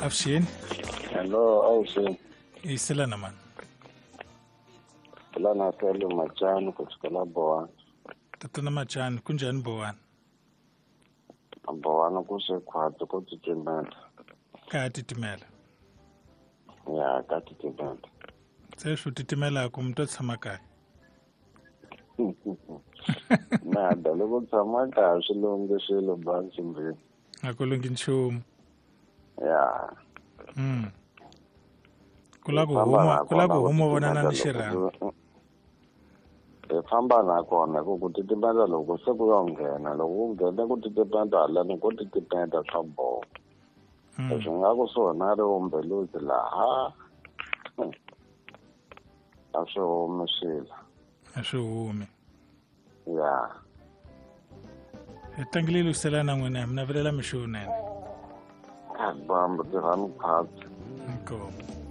Avuxeni. Hello, avuxeni. Yiselana mani. Lana Sele Machani kusukela Bowani. Tatana Machani, kunjhani Bowani? Bowani ku se khwatsi ko titimela. Ka titimela. Ya, ka titimela. Se swi titimelaka mi to tshama kaya. Nada, loko tshama kaya swi lunghi swilo bansimbini. A ku lunghi nchumu. Ya. Ku la ku huma, ku la ku huma vonana ni xirhami. Hi famba na kona ku ku titimela loko se ku yo nghena, loko ku nghena ku titimela haleni ko titimela swa boha. Leswi nga kusuhi na ri umbeluzi laha a swi humi swilo. A swi humi. Ya. Hi tlangile lwisela na n'wina, mi navelela mixo lowunene. Bambu tirhani khwatsi. Inkomu.